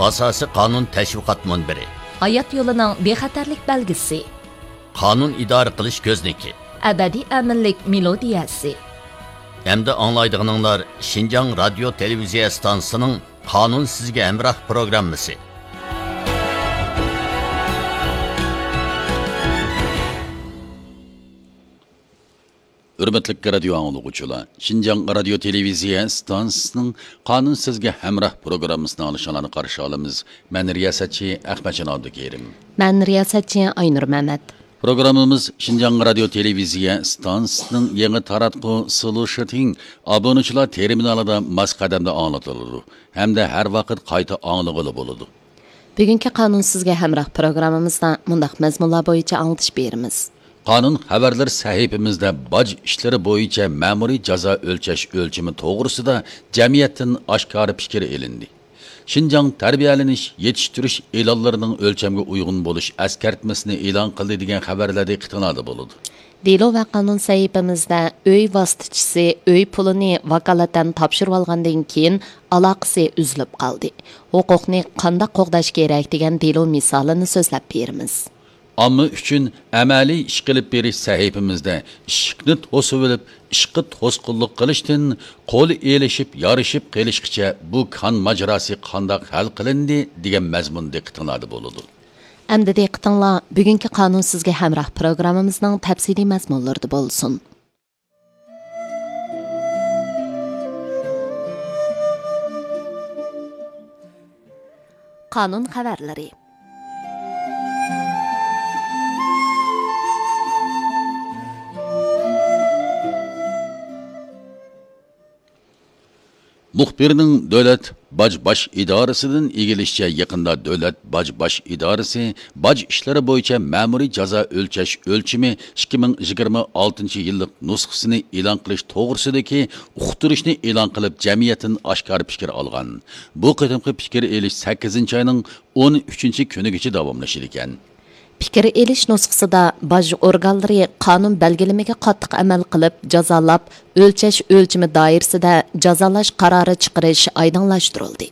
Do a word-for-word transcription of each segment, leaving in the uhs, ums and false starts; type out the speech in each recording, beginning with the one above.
ئاساسىي قانۇن تەشۋىقات مۇنبىرى. ھايات يولىنىڭ بىخەتەرلىك بەلگىسى. قانۇن ئىدارە قىلىش كۆزنىكى. ئەبەدىي ئەمىنلىك مېلودىيەسى. ئەمدى ئاڭلايدىغىنىڭلار شىنجاڭ رادىيو تېلېۋىزىيە ئىستانسىسىنىڭ قانۇن سىزگە ھەمراھ پروگراممىسى. ھۆرمەتلىك رادىيو ئاڭلىغۇچىلار، شىنجاڭ رادىيو تېلېۋىزىيە ئىستانسىسىنىڭ قانۇن سىزگە ھەمراھ پروگراممىسىنى ئاڭلىشىڭلارنى قارشى ئالىمىز. مەن رىياسەتچى ئەخمەتجان ئابدۇكېرىم. مەن رىياسەتچى ئاينۇر مەمەت. پروگراممىمىز شىنجاڭ رادىيو تېلېۋىزىيە ئىستانسىسىنىڭ يېڭى تاراتقۇ سلۇشىتىڭ ئابۇنىچىلار تېرمىنالىدا ماس قەدەمدە ئاڭلىتىلىدۇ ھەمدە ھەر ۋاقىت قايتا ئاڭلىغىلى بولىدۇ. بۈگۈنكى قانۇن سىزگە ھەمراھ پروگراممىمىزدا مۇنداق مەزمۇنلار بويىچە ئاڭلىتىش بېرىمىز. قانۇن خەۋەرلىرى سەھىپىمىزدە باج ئىشلىرى بويىچە مەمۇرىي جازا ئۆلچەش ئۆلچىمى توغرىسىدا جەمئىيەتتىن ئاشكارا پىكىر ئېلىندى. شىنجاڭ تەربىيەلىنىش، يېتىشتۈرۈش ئېلانلىرىنىڭ ئۆلچەمگە ئۇيغۇن بولۇش ئەسكەرتمىسىنى ئېلان قىلدى دېگەن خەۋەرلەر دىققىتىڭلاردا بولىدۇ. دېلو ۋە قانۇن سەھىپىمىزدە ئۆي ۋاسىتىچىسى ئۆي پۇلىنى ۋاكالىتەن تاپشۇرۇۋالغاندىن كېيىن ئالاقىسى ئۈزۈلۈپ قالدى. ھوقۇقنى قانداق قوغداش كېرەك دېگەن دېلو مىسالىنى سۆزلەپ بېرىمىز. ئامما ئۈچۈن ئەمەلىي ئىش قىلىپ بېرىش سەھىپىمىزدە ئىشىكنى توسۇۋېلىپ، ئىشقا توسقۇنلۇق قىلىشتىن قول ئېلىشىپ، يارىشىپ قېلىشقىچە بۇ كان ماجىراسى قانداق ھەل قىلىندى دېگەن مەزمۇن دىققىتىڭلاردا بولىدۇ. ئەمدى دىققىتىڭلار بۈگۈنكى قانۇن سىزگە ھەمراھ پروگراممىمىزنىڭ تەپسىلىي مەزمۇنلىرىدا بولسۇن. قانۇن خەۋەرلىرى. مۇخبىرنىڭ دۆلەت باج باش ئىدارىسىدىن ئىگىلىشىچە، يېقىندا دۆلەت باج باش ئىدارىسى باج ئىشلىرى بويىچە مەمۇرىي جازا ئۆلچەش ئۆلچىمى ئىككى مىڭ يىگىرمە ئالتىنچى يىللىق نۇسخىسىنى ئېلان قىلىش توغرىسىدىكى ئۇقتۇرۇشنى ئېلان قىلىپ، جەمئىيەتتىن ئاشكارا پىكىر ئالغان. بۇ قېتىمقى پىكىر ئېلىش سەككىزىنچى ئاينىڭ ئون ئۈچىنچى كۈنىگىچە داۋاملىشىدىكەن. پىكىر ئېلىش نۇسخىسىدا باج ئورگانلىرى قانۇن بەلگىلىمىگە قاتتىق ئەمەل قىلىپ جازالاپ، ئۆلچەش ئۆلچىمى دائىرىسىدە جازالاش قارارى چىقىرىش ئايدىڭلاشتۇرۇلدى.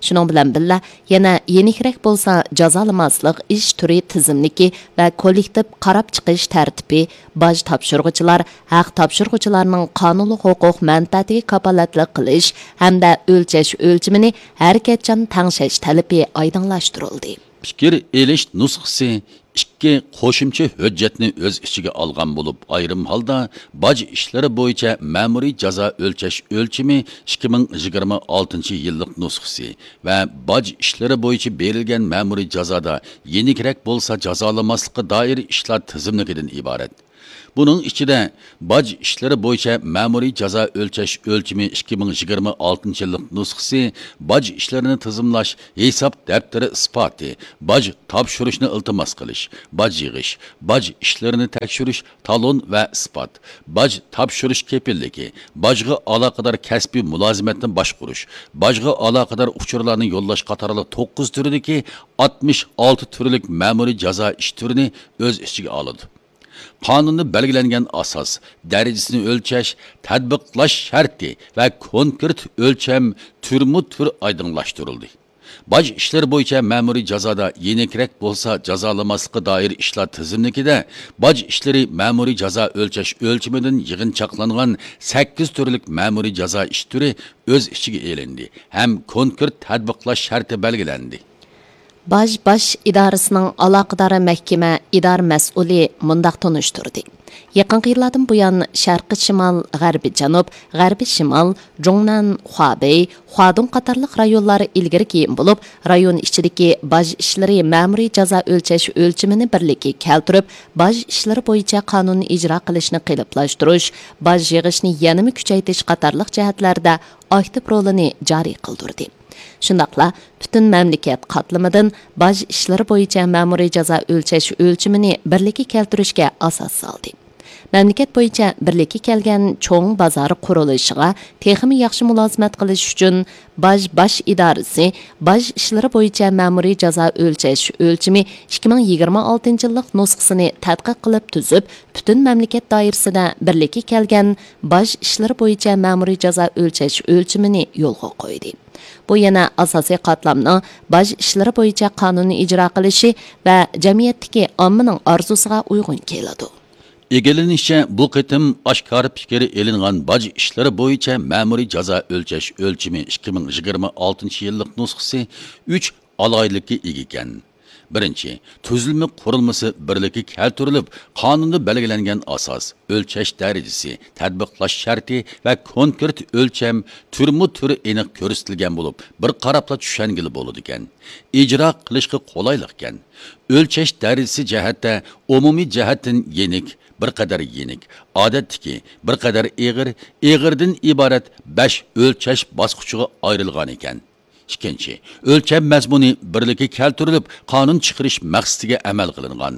شۇنىڭ بىلەن بىللە، يەنە يېنىكرەك بولسا جازالىماسلىق ئىش تۈرى تىزىملىكى ۋە كوللېكتىپ قاراپ چىقىش تەرتىپى، باج تاپشۇرغۇچىلار، ھەق تاپشۇرغۇچىلارنىڭ قانۇنلۇق ھوقۇق مەنپەئەتىگە كاپالەتلىك قىلىش ھەمدە ئۆلچەش ئۆلچىمىنى ھەرىكەتچان تەڭشەش تەلىپى ئايدىڭلاشتۇرۇلدى. پىكىر ئېلىش نۇسخىسى ئىككى قوشۇمچە ھۆججەتنى ئۆز ئىچىگە ئالغان بولۇپ، ئايرىم ھالدا باج ئىشلىرى بويىچە مەمۇرىي جازا ئۆلچەش ئۆلچىمى ئىككى مىڭ يىگىرمە ئالتىنچى يىللىق نۇسخىسى ۋە باج ئىشلىرى بويىچە بېرىلگەن مەمۇرىي جازادا يېنىكرەك بولسا جازالىماسلىققا دائىر ئىشلار تىزىملىكىدىن ئىبارەت. بۇنىڭ ئىچىدە باج ئىشلىرى بويىچە مەمۇرىي جازا ئۆلچەش ئۆلچىمى ئىككى مىڭ يىگىرمە ئالتىنچى يىللىق نۇسخىسى، باج ئىشلىرىنى تىزىملاش، ھېساب دەپتىرى ئىسپاتى، باج تاپشۇرۇشنى ئىلتىماس قىلىش، باج يىغىش، باج ئىشلىرىنى تەكشۈرۈش، تالون ۋە ئىسپات، باج تاپشۇرۇش كېپىللىكى، باجغا ئالاقىدار كەسپىي مۇلازىمەتنى باشقۇرۇش، باجغا ئالاقىدار ئۇچۇرلارنى يوللاش قاتارلىق توققۇز تۈرىدىكى ئاتمىش ئالتە تۈرلۈك مەمۇرىي جازا ئىش تۈرىنى ئۆز ئىچىگە ئالىدۇ. قانۇندا بەلگىلەنگەن ئاساس، دەرىجىسىنى ئۆلچەش، تەتبىقلاش شەرتى ۋە كونكرېت ئۆلچەم تۈرمۇ تۈر ئايدىڭلاشتۇرۇلدى. باج ئىشلىرى بويىچە مەمۇرىي جازادا يېنىكرەك بولسا جازالىماسلىققا دائىر ئىشلار تىزىملىكىدە باج ئىشلىرى مەمۇرىي جازا ئۆلچەش ئۆلچىمىدىن يىغىنچاقلانغان سەككىز تۈرلۈك مەمۇرىي جازا ئىش تۈرى ئۆز ئىچىگە ئېلىندى ھەم كونكرېت تەتبىقلاش شەرتى بەلگىلەندى. باج باش ئىدارىسىنىڭ ئالاقىدار مەھكىمە ئىدارە مەسئۇلى مۇنداق تونۇشتۇردى: يېقىنقى يىللاردىن بۇيان، شەرقىي شىمال، غەربىي جەنۇب، غەربىي شىمال، جۇڭنەن، خۇابېي، خۇادۇڭ قاتارلىق رايونلار ئىلگىرى كېيىن بولۇپ، رايون ئىچىدىكى باج ئىشلىرى مەمۇرىي جازا ئۆلچەش ئۆلچىمىنى بىرلىككە كەلتۈرۈپ، باج ئىشلىرى بويىچە قانۇن ئىجرا قىلىشنى قېلىپلاشتۇرۇش، باج يىغىشنى يەنىمۇ كۈچەيتىش قاتارلىق جەھەتلەردە ئاكتىپ رولىنى جارى قىلدۇردى. شۇنداقلا پۈتۈن مەملىكەت قاتلىمىدىن باج ئىشلىرى بويىچە مەمۇرىي جازا ئۆلچەش ئۆلچىمىنى بىرلىككە كەلتۈرۈشكە ئاساس سالدى. مەملىكەت بويىچە بىرلىككە كەلگەن چوڭ بازار قۇرۇلۇشىغا تېخىمۇ ياخشى مۇلازىمەت قىلىش ئۈچۈن، باج باش ئىدارىسى باج ئىشلىرى بويىچە مەمۇرىي جازا ئۆلچەش ئۆلچىمى ئىككى مىڭ يىگىرمە ئالتىنچى يىللىق نۇسخىسىنى تەتقىق قىلىپ تۈزۈپ، پۈتۈن مەملىكەت دائىرىسىدە بىرلىككە كەلگەن باج ئىشلىرى بويىچە مەمۇرىي جازا ئۆلچەش ئۆلچىمىنى يولغا قويدى. بۇ يەنە ئاساسىي قاتلامنىڭ باج ئىشلىرى بويىچە قانۇننى ئىجرا قىلىشى ۋە جەمئىيەتتىكى ئاممىنىڭ ئارزۇسىغا ئۇيغۇن كېلىدۇ. ئىگىلىنىشىچە، بۇ قېتىم ئاشكارا پىكىر ئېلىنغان باج ئىشلىرى بويىچە مەمۇرىي جازا ئۆلچەش ئۆلچىمى ئىككى مىڭ يىگىرمە ئالتىنچى يىللىق نۇسخىسى ئۈچ ئالاھىدىلىككە ئىگە ئىكەن. بىرىنچى، تۈزۈلمە قۇرۇلمىسى بىرلىككە كەلتۈرۈلۈپ، قانۇندا بەلگىلەنگەن ئاساس، ئۆلچەش دەرىجىسى، تەتبىقلاش شەرتى ۋە كونكرېت ئۆلچەم تۈرمۇ تۈرى ئېنىق كۆرسىتىلگەن بولۇپ، بىر قاراپلا چۈشەنگىلى بولىدىكەن. ئىجرا قىلىشقا قولايلىقكەن. ئۆلچەش دەرىجىسى جەھەتتە ئومۇمىي جەھەتتىن يېنىك، بىر قەدەر يېنىك، ئادەتتىكى، بىر قەدەر ئېغىر، ئېغىردىن ئىبارەت بەش ئۆلچەش باسقۇچىغا ئايرىلغان ئىكەن. ئىككىنچى، ئۆلچەم مەزمۇنى بىرلىككە كەلتۈرۈلۈپ، قانۇن چىقىرىش مەقسىتىگە ئەمەل قىلىنغان.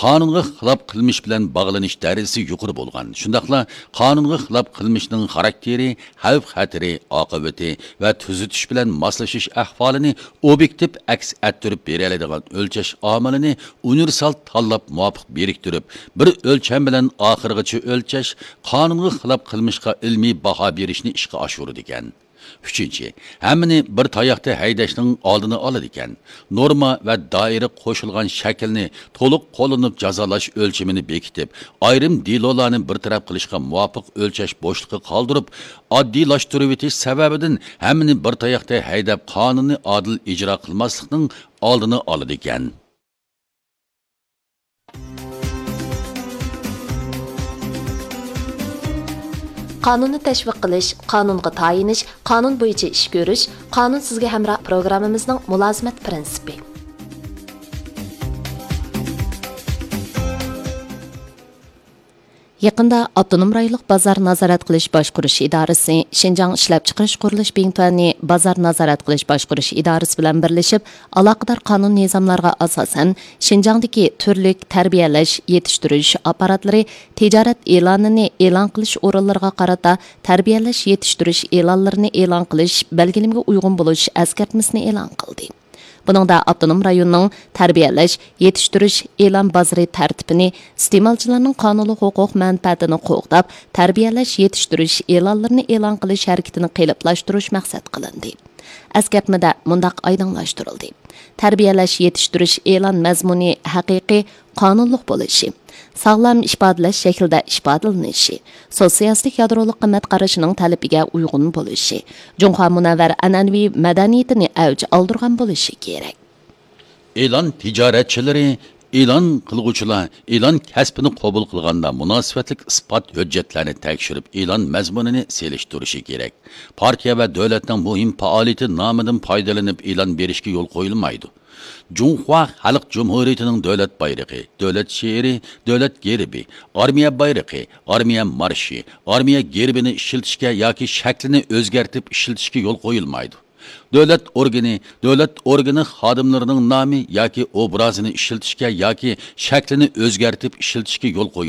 قانۇنغا خىلاپ قىلمىش بىلەن باغلىنىش دەرىجىسى يۇقىرى بولغان، شۇنداقلا قانۇنغا خىلاپ قىلمىشنىڭ خاراكتېرى، خەۋپ-خەتىرى، ئاقىۋىتى ۋە تۈزىتىش بىلەن ماسلىشىش ئەھۋالىنى ئوبيېكتىپ ئەكس ئەتتۈرۈپ بېرەلەيدىغان ئۆلچەش ئامىلىنى ئۇنىۋېرسال تاللاپ مۇۋاپىق بىرىكتۈرۈپ، بىر ئۆلچەم بىلەن ئاخىرغىچە ئۆلچەش، قانۇنغا خىلاپ قىلمىشقا ئىلمىي باھا بېرىشنى ئىشقا ئاشۇرىدىكەن. ئۈچىنچى، ھەممىنى بىر تاياقتا ھەيدەشنىڭ ئالدىنى ئالىدىكەن. نورما ۋە دائىرە قوشۇلغان شەكىلنى تولۇق قوللىنىپ جازالاش ئۆلچىمىنى بېكىتىپ، ئايرىم دېلولارنى بىر تەرەپ قىلىشقا مۇۋاپىق ئۆلچەش بوشلۇقى قالدۇرۇپ، ئاددىيلاشتۇرۇۋېتىش سەۋەبىدىن ھەممىنى بىر تاياقتا ھەيدەپ، قانۇننى ئادىل ئىجرا قىلماسلىقنىڭ ئالدىنى ئالىدىكەن. قانۇننى تەشۋىق قىلىش، قانۇنغا تايىنىش، قانۇن بويىچە ئىش كۆرۈش، قانۇن سىزگە ھەمراھ پروگراممىمىزنىڭ مۇلازىمەت پىرىنسىپى. يېقىندا ئاپتونوم رايونلۇق بازار نازارەت قىلىش باشقۇرۇش ئىدارىسى شىنجاڭ ئىشلەپچىقىرىش قۇرۇلۇش بىڭتۈەننى بازار نازارەت قىلىش باشقۇرۇش ئىدارىسى بىلەن بىرلىشىپ، ئالاقىدار قانۇن نىزاملارغا ئاساسەن، شىنجاڭدىكى تۈرلۈك تەربىيەلەش، يېتىشتۈرۈش ئاپپاراتلىرى تىجارەت ئېلانىنى ئېلان قىلىش ئورۇنلىرىغا قارىتا تەربىيەلەش، يېتىشتۈرۈش ئېلانلىرىنى ئېلان قىلىش بەلگىلىمىگە ئۇيغۇن بولۇش ئەسكەرتمىسىنى ئېلان قىلدى. بۇنىڭدا ئاپتونوم رايوننىڭ تەربىيەلەش، يېتىشتۈرۈش ئېلان بازىرى تەرتىپىنى، ئىستېمالچىلارنىڭ قانۇنلۇق ھوقۇق مەنپەئەتىنى قوغداپ، تەربىيەلەش، يېتىشتۈرۈش ئېلانلىرىنى ئېلان قىلىش ھەرىكىتىنى قېلىپلاشتۇرۇش مەقسەت قىلىندى. ئەسكەرتمىدە مۇنداق ئايدىڭلاشتۇرۇلدى: تەربىيەلەش، يېتىشتۈرۈش ئېلان مەزمۇنى ھەقىقىي، قانۇنلۇق بولۇشى، ساغلام ئىپادىلەش شەكلىدە ئىپادىلىنىشى، سوتسىيالىستىك يادرولۇق قىممەت قارىشىنىڭ تەلىپىگە ئۇيغۇن بولۇشى، جۇڭخۇا مۇنەۋۋەر ئەنئەنىۋى مەدەنىيىتىنى ئەۋج ئالدۇرغان بولۇشى كېرەك. ئېلان تىجارەتچىلىرى، ئېلان قىلغۇچىلار ئېلان كەسپىنى قوبۇل قىلغاندا مۇناسىۋەتلىك ئىسپات ھۆججەتلەرنى تەكشۈرۈپ، ئېلان مەزمۇنىنى سېلىشتۇرۇشى كېرەك. پارتىيە ۋە دۆلەتنىڭ مۇھىم پائالىيىتى نامىدىن پايدىلىنىپ ئېلان بېرىشكە يول قويۇلمايدۇ. جۇڭخۇا خەلق جۇمھۇرىيىتىنىڭ دۆلەت بايرىقى، دۆلەت شېئىرى، دۆلەت گېربى، ئارمىيە بايرىقى، ئارمىيە مارشى، ئارمىيە گېربىنى ئىشلىتىشكە ياكى شەكلىنى ئۆزگەرتىپ ئىشلىتىشكە يول قويۇلمايدۇ. دۆلەت ئورگىنى، دۆلەت ئورگىنى خادىملىرىنىڭ نامى ياكى ئوبرازىنى ئىشلىتىشكە ياكى شەكلىنى ئۆزگەرتىپ ئىشلىتىشكە يول قويۇلمايدۇ.